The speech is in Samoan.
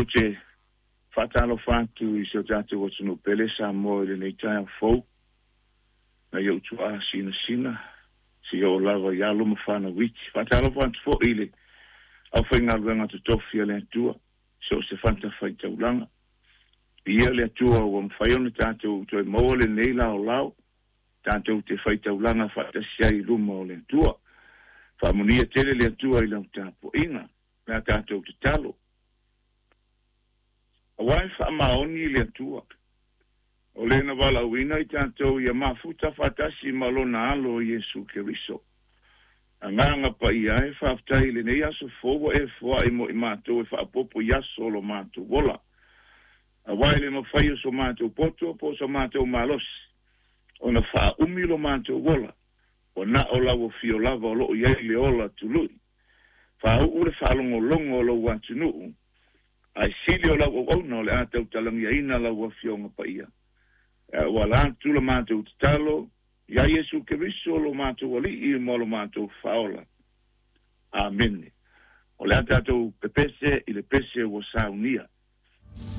Ou te faatalofa atu i si o tatou atunuu pele Samoa i lenei taeao fou, nai ou tuaa sinasina, seia oo lava i alo ma fanau iti. Faatalofa atu foi i le aufaigaluega totofi a le Atua, so o se fatafaitaulaga. Viia le Atua ua mafai ona tatou toe maua lenei laolao, tatou te faitaulaga faatasi ai i luma o le Atua. Faamanuia tele le Atua i lau tapuaiga. O le a tatou tatalo. Aua e faamaoni le Atua, o le na valaauina i tatou ia mafuta faatasi ma Lona Alo Iesu Keriso. Agaga Paia e, faafetai i lenei aso fou ua e foai mo i matou e faaopoopo i aso o lo matou ola. Aua e le mafai o so matou poto po o so matou malosi ona faaumi lo matou ola, ua na o lau afio lava o lo o i ai le ola tului. Faauu le faalogologo o lou atunuu, ae sili o lau auauna o le a tautalagiaina lau Afioga Paia. E auala atu la matou tatalo iā Iesu Keriso lo matou Alii ma lo matou Faaola. Amene. O le a tatou pepese i le pese ua saunia.